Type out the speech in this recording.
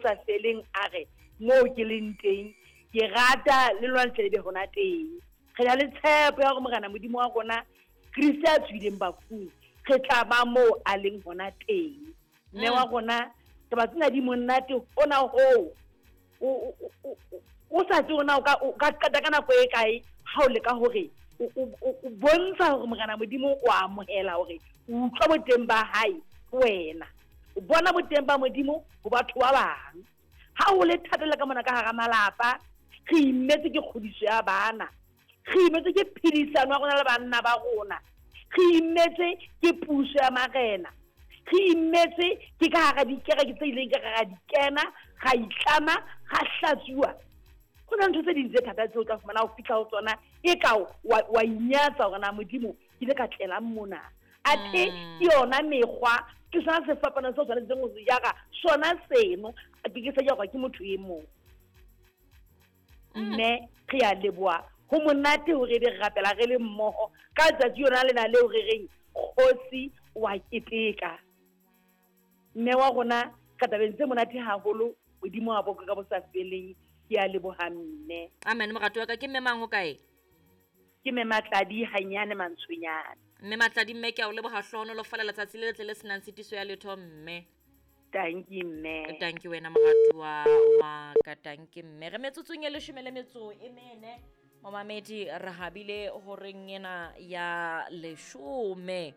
sa feleng a re moo ke leng teng ke rata le lona le tle le be hona teng. Re na le tshepo ya hore Morena Modimo wa rona Kriste a tswileng bafung re tla ba moo a leng hona teng. Mme wa rona taba tsena di monate hona hoo o sa tsebe na o ka qeta ka nako e kae ha o leka hore o bontsha hore Morena Modimo o amohela hore o utlwa boteng ba hae ho wena, o bona boteng ba Modimo ho batho ba bang. Ha ho le thata le ka mona ka hara malapa, re imetse ke kgodiso ya bana, re imetse ke phedisano ya rona le banna ba rona, re imetse ke puso ya marena, re imetse ke ka hara dikereke tse ileng ka ra di kena, ra itlama, ra hlatsuwa. Ho na ntho tse ding tse thata tseo o tla fumana o fihla ho tsona e ka wa inyatsa hore na Modimo ke ile ka tlelang mona. Athe ke yona mekgwa, ke sona sefapano seo tshwanetseng ho se jara, sona seno ke ke sa jarwa ke motho e mong. Mme re a leboha, ho monate hore ebe re rapela re le mmoho ka letsatsi yona lena leo re reng kgosi wa keteka. Mme wa rona ka tabeng tse monate haholo, Modimo wa boka ka bo sa feleng. Ke a leboha mme. Amen. Moratuwa ka, ke mme mang ho kae? Ke mme Matladi hanyane Mantshonyane. Mme Matladi, mme ke a o leboha, hlohonolofala letsatsi le letle le senang tshitiso ya letho mme. Tanki mme. Tanki wena moratuwa wa ka, tanki mme. Re metsotsong e leshome le metso e mene. Momamedi re habile horeng ena ya leshome.